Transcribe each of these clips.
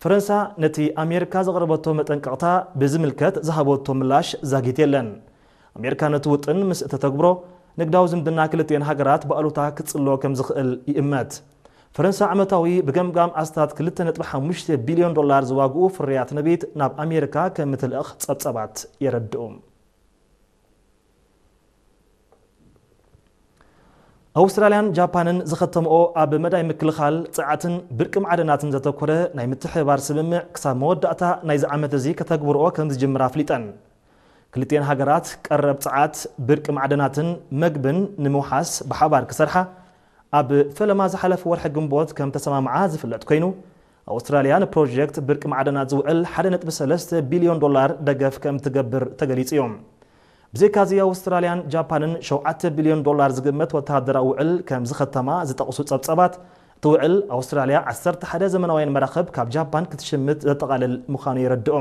ፈረንሳ ነቲ ኣሜሪካ ዘቕረበቶ መጠንቀቕታ ብዝምልከት ዝሃበቶ ምላሽ ዛጊት የለን። ኣሜሪካ ነቲ ውጥን ምስ እተተግብሮ፣ ንግዳዊ ዝምድና ክልቲኤን ሃገራት ብኣሉታ ክጽሎ ከም ዝኽእል ይእመት። ፈረንሳ ዓመታዊ ብገምጋም ኣስታት ክልተ ነጥቢ ሓሙሽተ ቢልዮን ዶላር ዝዋግኡ ፍርያት ነቢት ናብ ኣሜሪካ ከም እትልእኽ ጸብጸባት የረድኡ። ኣውስትራልያን ጃፓንን ዝኸተምኦ ኣብ መዳይ ምክልኻል ጸዓትን ብርቂ ማዕድናትን ዘተኮረ ናይ ምትሕብባር ስምምዕ ክሳብ መወዳእታ ናይዚ ዓመት እዚ ከተግብርኦ ከም ዝጅምራ ኣፍሊጠን። ክልቲኤን ሃገራት ቀረብ ጸዓት፣ ብርቂ ማዕድናትን መግብን ንምውሓስ ብሓባር ክሰርሓ ኣብ ፈለማ ዝሓለፈ ወርሒ ግንቦት ከም ተሰማምዓ ዝፍለጥ ኮይኑ፣ ኣውስትራልያ ንፕሮጀክት ብርቂ ማዕድናት ዝውዕል ሓደ ነጥቢ ሰለስተ ቢልዮን ዶላር ደገፍ ከም ትገብር ተገሊጹ እዩ። ብዘይካዚ ኣውስትራልያን ጃፓንን ሸውዓተ ቢልዮን ዶላር ዝግመት ወተሃደራዊ ውዕል ከም ዝኸተማ ዝጠቕሱ ጸብጸባት፣ እቲ ውዕል ኣውስትራልያ ዓሰርተ ሓደ ዘመናውያን መራኽብ ካብ ጃፓን ክትሽምት ዘጠቓልል ምዃኑ የረድኡ።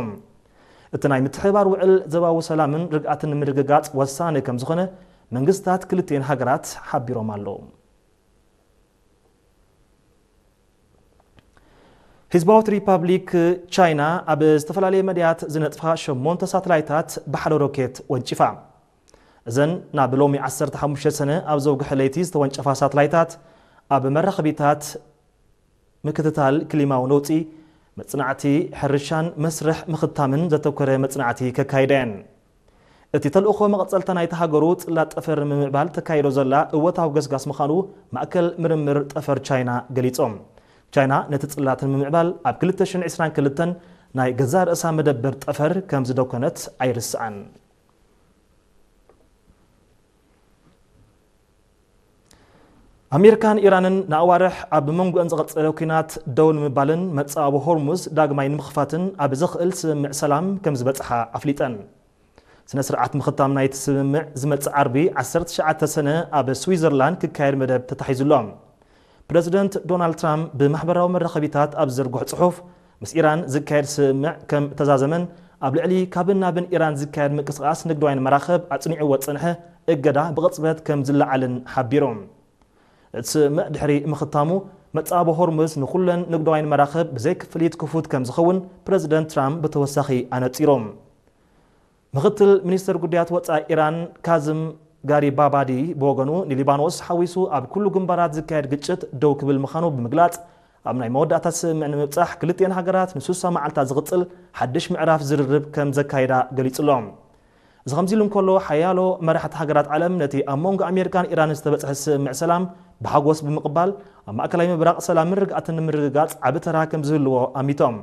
እቲ ናይ ምትሕብባር ውዕል ዘባዊ ሰላምን ርግኣትን ንምርግጋጽ ወሳኒ ከም ዝኾነ መንግስታት ክልቲኤን ሃገራት ሓቢሮም ኣለዉ። ህዝባዊት ሪፓብሊክ ቻይና ኣብ ዝተፈላለየ መድያት ዝነጥፋ ሸሞንተ ሳተላይታት ብሓደ ሮኬት ወንጪፋ። እዘን ናብ ሎሚ ዓሰርተ ሓሙሽተ ሰነ ኣብ ዘውግሐ ለይቲ ዝተወንጨፋ ሳተላይታት ኣብ መራኸቢታት ምክትታል ክሊማዊ ነውጺ፣ መጽናዕቲ ሕርሻን መስርሕ ምኽታምን ዘተኮረ መጽናዕቲ ከካይዳ እየን። እቲ ተልእኾ መቐጸልታ ናይቲ ሃገሩ ጽላት ጠፈር ንምምዕባል ተካይዶ ዘላ እወታዊ ገስጋስ ምዃኑ ማእከል ምርምር ጠፈር ቻይና ገሊጾም። ቻይና ነቲ ጽላት ንምምዕባል ኣብ ክልተ ሽሕን ዕስራን ክልተን ናይ ገዛእ ርእሳ መደበር ጠፈር ከም ዝደኮነት ኣይርስዓን። ኣሜሪካን ኢራንን ንኣዋርሕ ኣብ መንጎአን ዝቐጸለ ኲናት ደው ንምባልን መጻወቢ ሆርሙዝ ዳግማይ ንምኽፋትን ኣብ ዘኽእል ስምምዕ ሰላም ከም ዝበጽሓ ኣፍሊጠን። ስነ ስርዓት ምኽታም ናይቲ ስምምዕ ዝመጽእ ዓርቢ ዓሰርተ ትሽዓተ ሰነ ኣብ ስዊዘርላንድ ክካየድ መደብ ተታሒዙ ኣሎ። ፕረዚደንት ዶናልድ ትራምፕ ብማሕበራዊ መራኸቢታት ኣብ ዝዘርግሖ ጽሑፍ፣ ምስ ኢራን ዝካየድ ስምምዕ ከም እተዛዘመን ኣብ ልዕሊ ካብን ናብን ኢራን ዝካየድ ምንቅስቓስ ንግዳውያን መራኽብ ኣጽኒዕዎ ዝጸንሐ እገዳ ብቕጽበት ከም ዝለዓልን ሓቢሩ። እቲ ስምምዕ ድሕሪ ምኽታሙ፣ መጻወቢ ሆርሙዝ ንኹለን ንግዳውያን መራኽብ ብዘይ ክፍሊት ክፉት ከም ዝኸውን ፕረዚደንት ትራምፕ ብተወሳኺ ኣነጺሩ። ምኽትል ሚኒስትር ጉዳያት ወጻኢ ኢራን ካዝም ጋሪባባዲ ብወገኑ፣ ንሊባኖስ ሓዊሱ ኣብ ኩሉ ግንባራት ዝካየድ ግጭት ደው ክብል ምዃኑ ብምግላጽ፣ ኣብ ናይ መወዳእታ ስምምዕ ንምብጻሕ ክልቲኤን ሃገራት ንስሳ መዓልታት ዝቕጽል ሓድሽ ምዕራፍ ዝርርብ ከም ዘካይዳ ገሊጹ ኣሎ። እዚ ከምዚ ኢሉ እንከሎ፣ ሓያሎ መራሕቲ ሃገራት ዓለም ነቲ ኣብ መንጎ ኣሜሪካን ኢራንን ዝተበጽሐ ስምምዕ ሰላም ብሓጎስ ብምቕባል፣ ኣብ ማእከላይ ምብራቕ ሰላምን ርግኣትን ንምርግጋጽ ዓቢ ተራ ከም ዝህልዎ ኣሚቶም።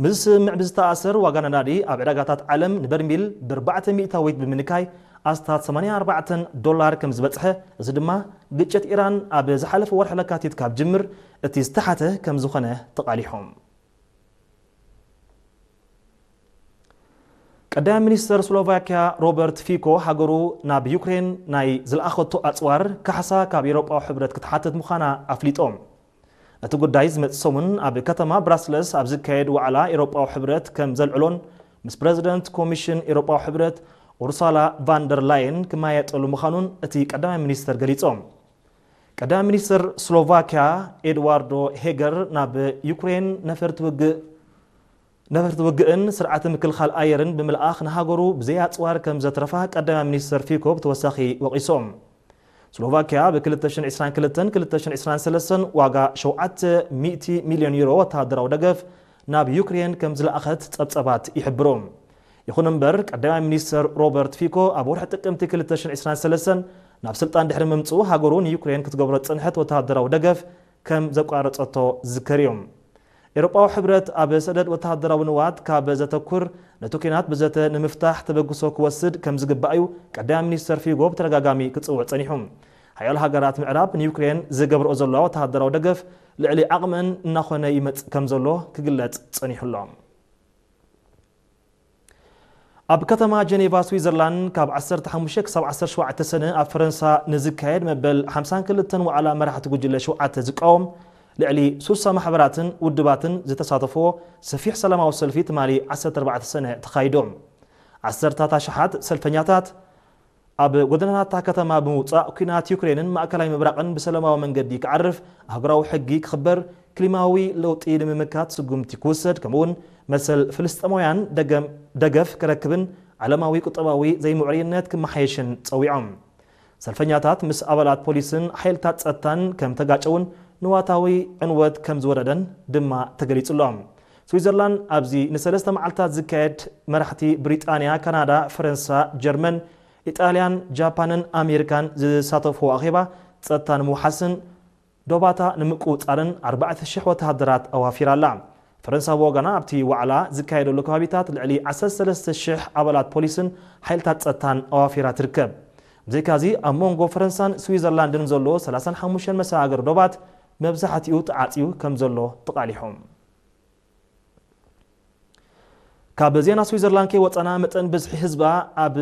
ምስዚ ስምምዕ ብዝተኣሳሰር፣ ዋጋ ነዳዲ ኣብ ዕዳጋታት ዓለም ንበርሚል ብኣርባዕተ ሚእታዊት ብምንካይ ኣስታት ሰማንያ ኣርባዕተ ዶላር ከም ዝበጽሐ፣ እዚ ድማ ግጭት ኢራን ኣብ ዝሓለፈ ወርሒ ለካቲት ካብ ጅምር እቲ ዝተሓተ ከም ዝኾነ ተቓሊሖም። ቀዳማይ ሚኒስተር ስሎቫክያ ሮበርት ፊኮ፣ ሃገሩ ናብ ዩክሬን ናይ ዝለኣኸቶ ኣጽዋር ካሕሳ ካብ ኤውሮጳዊ ሕብረት ክትሓትት ምዃና ኣፍሊጦም። እቲ ጉዳይ ዝመጽእ ሰሙን ኣብ ከተማ ብራስለስ ኣብ ዝካየድ ዋዕላ ኤውሮጳዊ ሕብረት ከም ዘልዕሎን ምስ ፕረዚደንት ኮሚሽን ኤውሮጳዊ ሕብረት ኡርሳላ ቫንደር ላየን ክመያየጠሉ ምዃኑን እቲ ቀዳማይ ሚኒስተር ገሊጾም። ቀዳማይ ሚኒስተር ስሎቫክያ ኤድዋርዶ ሄገር ናብ ዩክሬን ነፈርቲ ውግእ ነፈርቲ ውግእን ስርዓተ ምክልኻል ኣየርን ብምልኣኽ ንሃገሩ ብዘይ ኣጽዋር ከም ዘትረፋ ቀዳማይ ሚኒስተር ፊኮ ብተወሳኺ ወቒሶም። ስሎቫክያ ብ ክልተ ሽሕን ዕስራን ክልተን ክልተ ሽሕን ዕስራን ሰለስተን ዋጋ ሸውዓተ ሚእቲ ሚልዮን ዩሮ ወተሃደራዊ ደገፍ ናብ ዩክሬን ከም ዝለኣኸት ጸብጸባት ይሕብሩ። ይኹን እምበር፣ ቀዳማይ ሚኒስተር ሮበርት ፊኮ ኣብ ወርሒ ጥቅምቲ ክልተ ሽሕን ዕስራን ሰለስተን ናብ ስልጣን ድሕሪ ምምጽኡ፣ ሃገሩ ንዩክሬን ክትገብሮ ዝጸንሐት ወተሃደራዊ ደገፍ ከም ዘቋረጸቶ ዝዝከር እዩ። ኤውሮጳዊ ሕብረት ኣብ ሰደድ ወተሃደራዊ ንዋት ካብ ዘተኩር፣ ነቲ ኲናት ብዘተ ንምፍታሕ ተበግሶ ክወስድ ከም ዝግባእ እዩ ቀዳማይ ሚኒስተር ፊጎ ብተደጋጋሚ ክጽውዕ ጸኒሑ። ሓያሎ ሃገራት ምዕራብ ንዩክሬን ዝገብርኦ ዘለዋ ወተሃደራዊ ደገፍ ልዕሊ ዓቕመን እናኾነ ይመጽእ ከም ዘሎ ክግለጽ ጸኒሑ ኣሎ። ኣብ ከተማ ጀኔቫ ስዊዘርላንድ ካብ ዓሰርተ ሓሙሽተ ክሳብ ዓሰርተ ሸውዓተ ሰነ ኣብ ፈረንሳ ንዝካየድ መበል ሓምሳን ክልተን ዋዕላ መራሕቲ ጉጅለ ሸውዓተ ዝቃወም ልዕሊ ሱሳ ማሕበራትን ውድባትን ዝተሳተፍዎ ሰፊሕ ሰላማዊ ሰልፊ ትማሊ ዓሰርተ ኣርባዕተ ሰነ ተኻይዱ። ዓሰርታት ኣሽሓት ሰልፈኛታት ኣብ ጎደናታት እታ ከተማ ብምውጻእ፣ ኲናት ዩክሬንን ማእከላይ ምብራቕን ብሰላማዊ መንገዲ ክዓርፍ፣ ኣህጉራዊ ሕጊ ክኽበር፣ ክሊማዊ ለውጢ ንምምካት ስጉምቲ ክውሰድ፣ ከምኡውን መሰል ፍልስጤማውያን ደገም-፣ ደገፍ ክረክብን ዓለማዊ ቁጠባዊ ዘይምዕሩይነት ክመሓየሽን ጸዊዖም። ሰልፈኛታት ምስ ኣባላት ፖሊስን ሓይልታት ጸጥታን ከም ተጋጨውን ንዋታዊ ዕንወት ከም ዝወረደን ድማ ተገሊጹ ኣሎ። ስዊዘርላንድ ኣብዚ ንሰለስተ መዓልታት ዝካየድ መራሕቲ ብሪጣንያ፣ ካናዳ፣ ፈረንሳ፣ ጀርመን፣ ኢጣልያን፣ ጃፓንን ኣሜሪካን ዝሳተፍዎ ኣኼባ ጸጥታ ንምውሓስን ዶባታ ንምቁጽጻርን ኣርባዕተ ሽሕ ወተሃደራት ኣዋፊራ ኣላ። ፈረንሳ ብወገና ኣብቲ ዋዕላ ዝካየደሉ ከባቢታት ልዕሊ ዓሰርተ ሰለስተ ሽሕ ኣባላት ፖሊስን ሓይልታት ጸጥታን ኣዋፊራ ትርከብ። ብዘይካዚ ኣብ መንጎ ፈረንሳን ስዊዘርላንድን ዘሎ ሰላሳን ሓሙሽተን መሰጋገሪ ዶባት መብዛሕትኡ ተዓጽዩ ከም ዘሎ ተቓሊሑ። ካብ ዜና ስዊዘርላንድ ከይወጸና መጠን ብዝሒ ህዝባ ኣብ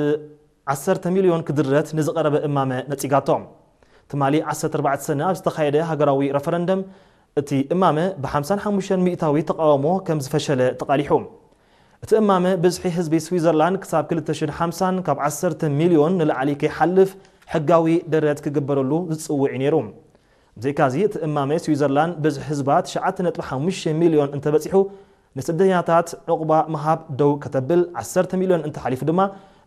ዓሰርተ ሚልዮን ክድረት ንዝቐረበ እማመ ነጺጋቶ። ትማሊ ዓሰርተ ኣርባዕተ ሰነ ኣብ ዝተኻየደ ሃገራዊ ረፈረንደም እቲ እማመ ብ ሓምሳን ሓሙሽተን ሚእታዊ ተቓውሞ ከም ዝፈሸለ ተቓሊሑ። እቲ እማመ ብዝሒ ህዝቢ ስዊዘርላንድ ክሳብ ክልተ ሽሕን ሓምሳን ካብ ዓሰርተ ሚልዮን ንላዕሊ ከይሓልፍ ሕጋዊ ደረት ክግበረሉ ዝጽውዕ እዩ ነይሩ። ብዘይካዚ እቲ እማመ ስዊዘርላንድ ብዝሒ ህዝባ ትሽዓተ ነጥቢ ሓሙሽተ ሚልዮን እንተበጺሑ ንስደተኛታት ዕቑባ ምሃብ ደው ከተብል፣ ዓሰርተ ሚልዮን እንተሓሊፉ ድማ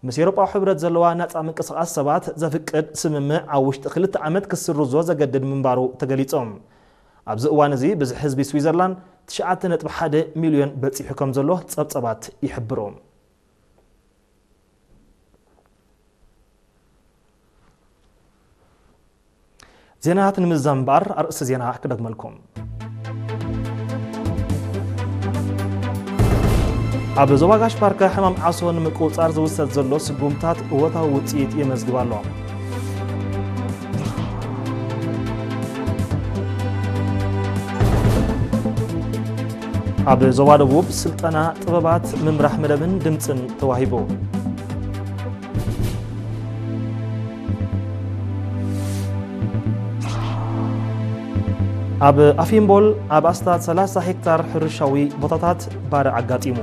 ምስ ኤውሮጳዊ ሕብረት ዘለዋ ናጻ ምንቅስቓስ ሰባት ዘፍቅድ ስምምዕ ኣብ ውሽጢ ክልተ ዓመት ክስርዞ ዘገድድ ምንባሩ ተገሊጾም። ኣብዚ እዋን እዚ ብዝሒ ህዝቢ ስዊዘርላንድ ትሽዓተ ነጥቢ ሓደ ሚልዮን በጺሑ ከም ዘሎ ጸብጸባት ይሕብሩ። ዜናታት ንምዝዛም እምበኣር ኣርእስቲ ዜና ክደግመልኩም። ኣብ ዞባ ጋሽ ባርካ ሕማም ዓሶ ንምቁጽጻር ዝውሰድ ዘሎ ስጉምታት እወታዊ ውጽኢት የመዝግብ ኣሎ። ኣብ ዞባ ደቡብ ስልጠና ጥበባት ምምራሕ መደብን ድምጽን ተዋሂቡ። ኣብ ኣፊምቦል ኣብ ኣስታት ሰላሳ ሄክታር ሕርሻዊ ቦታታት ባርዕ ኣጋጢሙ።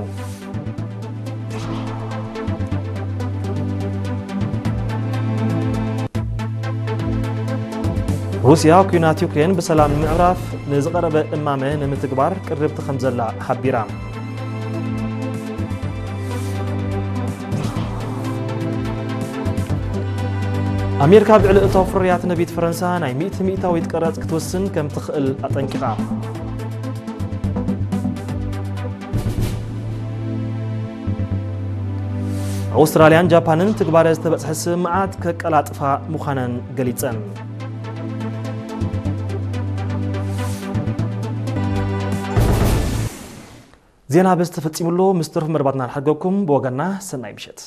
ሩስያ ኲናት ዩክሬን ብሰላም ንምዕራፍ ንዝቐረበ እማመ ንምትግባር ቅርብቲ ከም ዘላ ሓቢራ። ኣሜሪካ ኣብ ልዕሊ እታው ፍርያት ነቢት ፈረንሳ ናይ ሚእቲ ሚእታዊት ቀረጽ ክትወስን ከም ትኽእል ኣጠንቂቓ። ኣውስትራልያን ጃፓንን ትግባረ ዝተበጽሐ ስምምዓት ከቀላጥፋ ምዃነን ገሊጸን። ዜና በዚ ተፈጺሙ ኣሎ። ምስ ተረፉ መደባትና ንሓድገኩም። ብወገንና ሰናይ ምሸት።